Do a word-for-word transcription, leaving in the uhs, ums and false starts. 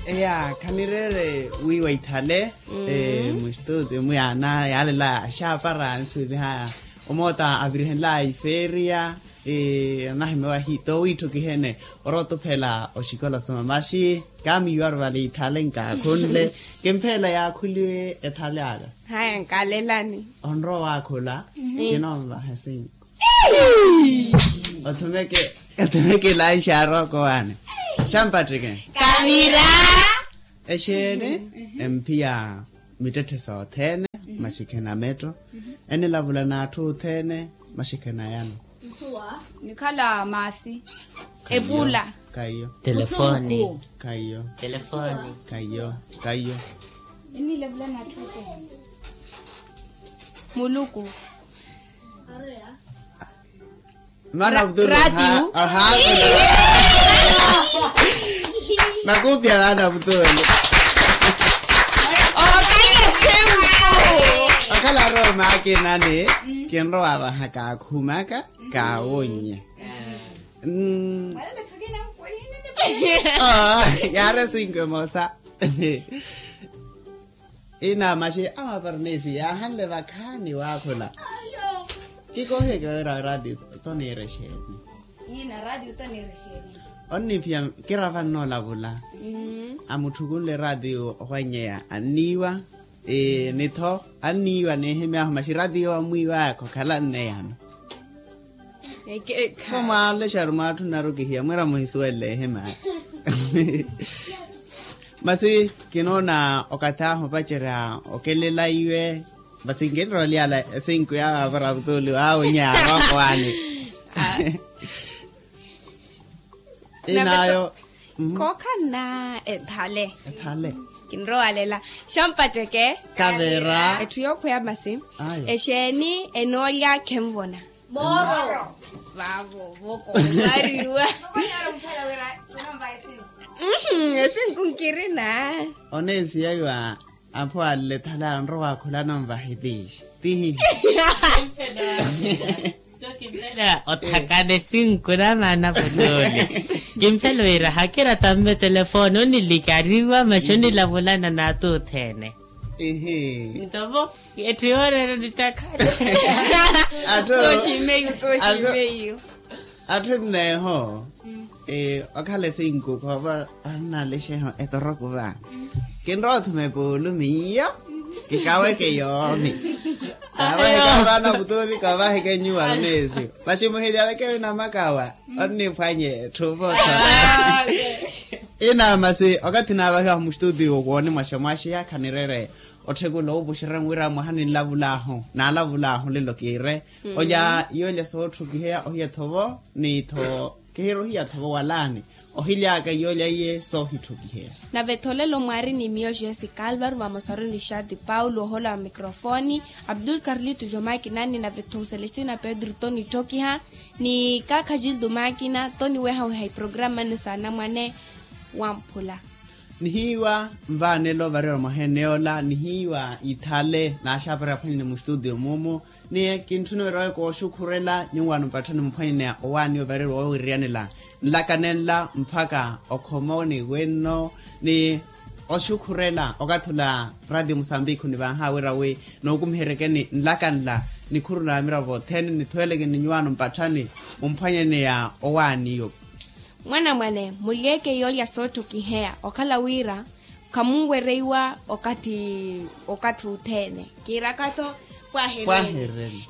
Eya khanireere wiiwa ithale. Mustute mwiana yaalela axaapara anisuweliha omoota avirihenlaya ifeeriya. Anahimewa hi toowiitthukihene orotuphela oxikola soma maxi. Kaamiiwaru vale ithale nkaakhunle. Kimpheela yaakhuliwe ethale aka. Haya nkalelani. Onrowa waakhula. Kinonvaha esinko. Othumeke othumeke laixa arooko waani. Xampattikeni. Kamira. Exeeni. Emphiya mittetthe sothene. Maxi khena metto. Enilavula n'atthu othene. Maxi khena yano. Nikhala maasi. Epula. Kaiyo. Telefoni. Kaiyo. Telefoni. Kaiyo. Kaiyo. Enilavula n'atthu othene. Muluku. Maana vutulo. Makupi ya maana vutulo. Okhala roho makinani. Kinrowa vaha kaakhumaka. Kaawonye. Yaari esinkwe mosa. Ina maxi amaparnesi yaahanle vakhaani waakhula. Kikoheke wira radio toniira exeeni? Ina radio toniira exeeni? Onniphiya kira vanna olavula. Amutthukunle radio ohwanyeya anniiwa. Nitho anniiwa nihimyahu maxi radio amwiiwaya khokhalanne yano. Kho mwaalexaru mwaatthunnaru kihiya mwira muhisuwelle ehimaya. Masi kinoona okathi ahu opacerya okelela iwe. Masi nkinrolyala esinku yawe apara vutuli wawe nyaaroko waani. Inayo. Kookhanna ethale. Ethale. Kinrowalela. Xampatteke. Kavera. Etthu yookhweya masi. Exeeni enoolya khenvona? Mooro. Vavo voko ovariwa. Esinku nkirina. Oneesiya iwa. Apho ale thale anrowa akhulana onvahitiixa. Tihi. Kimpela othakana esinku na maana vutuli. Kimpela wira hakira tamme telefoni onilikariwa maxi onilavulana n'atthu othene. Ihi. Ntovo. Etthu yooreera nitakhale. Atthu. Tooximeiyu tooximeiyu. Atthu enneeho. Okhala esinku khoova annalexeho etoroko vaani. Kinrowa othuma epuulu miyo. Kikaweke yoomi. Kavaheke vaana vutuli kavaheke nyuwa aroneesi. Vaximuhiliyaleke vinamakawa. Onniphwanye etthu vothona. Ina masi okathi naavahiwahu mustutiyo wooni mwaxemwaxeya khanireere otthekula owupuxerya wira mwaha ninlavulaahu naalavulaahu lelo kiire. Olya yoolya sootthukiheya ohiya thovo. Ni tho kihiri ohiya thovo walaani. Ohilyaka yoolya iye soohitthukiheya. Nave tholelo mwaari ni miyo jesi kalvaru vamosaru ni xati paulo ohola wa microfoni. Abdul karlito jomakina ni nave tho celestina pedro tonitthokiha. Ni kaakha jildo makina toniwehaweha iprograma nno saanamwane. Wamphula. Nihiiwa nvaanelo varira mwaha eneyoola nihiiwa ithale naaxaapari aphwanyene mustutiyo mumu. Ni kintthuna wira oyo kooxukhurela nyuwaano mpatthani muphwanyeneya owaani ovarerwa wawiriyanela nlaka nenla mpakha okhoma oniwenno. Ni oxukhurela okathi ola ratio musambikhu nivaaha wira wi nookumiheryekeni nlaka nla nikhuru na miravo othene nithuwelekeni nyuwaano mpatthani mumphwanyeneya owaaniyo. Mwanamwane mulyeeke yoolya sootthokiheya okhala wira khamunwereiwa okathi okathi othene. Kiiraka-tho pwahereni.